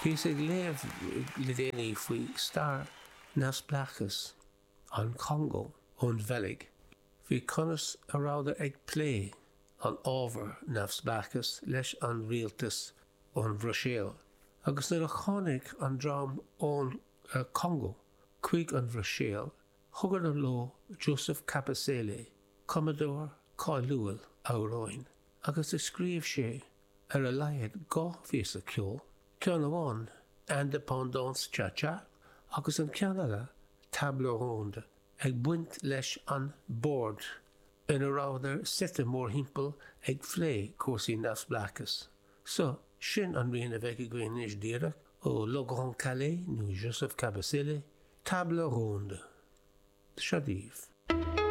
Bhíos ag léamh le déanaí faoi stair neamhspleáchas an Chongó ón Bheilg, faoi conas a rabhadar ag plé an ábhar neamhspleáchas leis an rialtas ón Bhruiséil. Agus nuair a tháinig an dream ón Chongó chuig an Bhruiséil, thugadar leo Joseph Kabasele, cumadóir cáiliúil amhráin, agus a scríobh sé ar a laghad 2 phíosa ceoil, ceann amháin Indépendance Cha Cha agus an ceann eile Table Ronde, ag baint leis an bord ina rabhadar suite mórthimpeall ag phlé cúrsaí neamhspleáchais. So, sin an rian a bheidh againn anois díreach ó Le Grand Kallé nó Joseph Kabasele, Table Ronde. Seo daoibh.